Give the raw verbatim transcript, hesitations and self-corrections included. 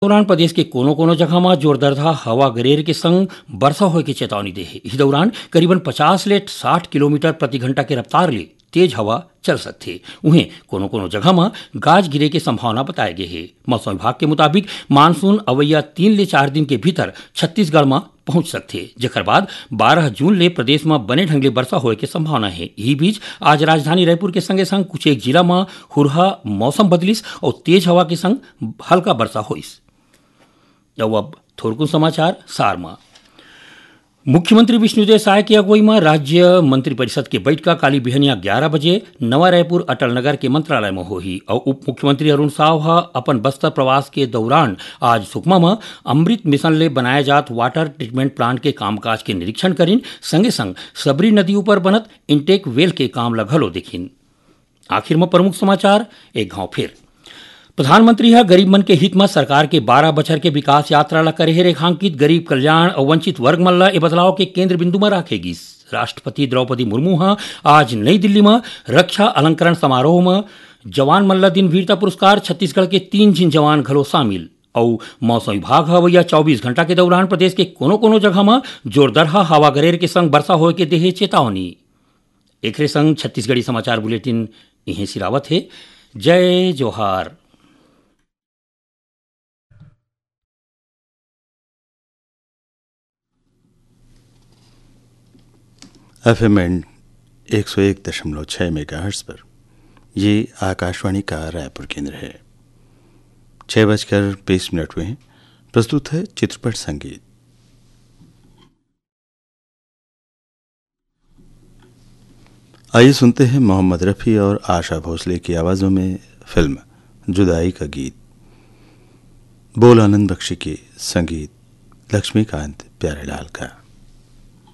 दौरान प्रदेश के कोनो-कोनो जगह म जोरदार हवा गरेर के संग बरसा होए के चेतावनी दे हे। इही दौरान करीबन पचास ले साठ किलोमीटर प्रति घंटा के रफ्तार ले तेज हवा चल सकथे। उहें कोनो-कोनो जगह म गाज गिरे के संभावना बताए गे हे। मौसम विभाग के मुताबिक मानसून अवइया तीन ले चार दिन के भीतर छत्तीसगढ़ म पहुंच सकथे, जेकर बाद बारह जून ले प्रदेश म बने ढंग ले बरसा होए के संभावना हे। इही बीच आज राजधानी रायपुर के संगे संग कुछ एक जिला म हुरहा मौसम बदलिस अउ तेज हवा के संग हल्का बरसा होइस। अउ अब थोरकुन समाचार सार म। मुख्यमंत्री विष्णुदेव साय के अगुवई म राज्य मंत्रिपरिषद के बइठका काली बिहनिया ग्यारा बजे नवा रायपुर अटल नगर के मंत्रालय म होही अउ उप मुख्यमंत्री अरुण साव ह अपन बस्तर प्रवास के दौरान आज सुकमा म अमृत मिशन ले बनाए जात वाटर ट्रीटमेंट प्लांट के कामकाज के निरीक्षण करिन, संगे संग सबरी नदी ऊपर बनत इंटेक वेल के काम ल घलो देखिन। आखिर म प्रमुख समाचार एक घाव फिर। प्रधानमंत्री ह गरीब मन के हित म सरकार के बारह बछर के विकास यात्रा ल करे हे रेखांकित। गरीब कल्याण अउ वंचित वर्ग मन ल ए बदलाव के केंद्र बिंदु म राखे गिस। राष्ट्रपति द्रौपदी मुर्मू ह आज नई दिल्ली म रक्षा अलंकरण समारोह म जवान मन ल दिन वीरता पुरस्कार, छत्तीसगढ़ के तीन झिन जवान घलो शामिल। अउ मौसम विभाग ह अवइया चौबीस घंटा के दौरान प्रदेश के कोनो-कोनो जगह म जोरदरहा हवा गरेर के संग बरसा होए के देहे चेतावनी। एकरे संग छत्तीसगढ़ी समाचार बुलेटिन इहें सिरावत हे। जय जोहार। एफ एम बैंड एक सौ एक दशमलव छः मेगाहर्ट्ज पर ये आकाशवाणी का रायपुर केंद्र है। छः बजकर बीस मिनट हुए हैं। प्रस्तुत है चित्रपट संगीत। आइए सुनते हैं मोहम्मद रफ़ी और आशा भोसले की आवाज़ों में फिल्म जुदाई का गीत। बोल आनंद बख्शी के, संगीत लक्ष्मीकांत प्यारेलाल का।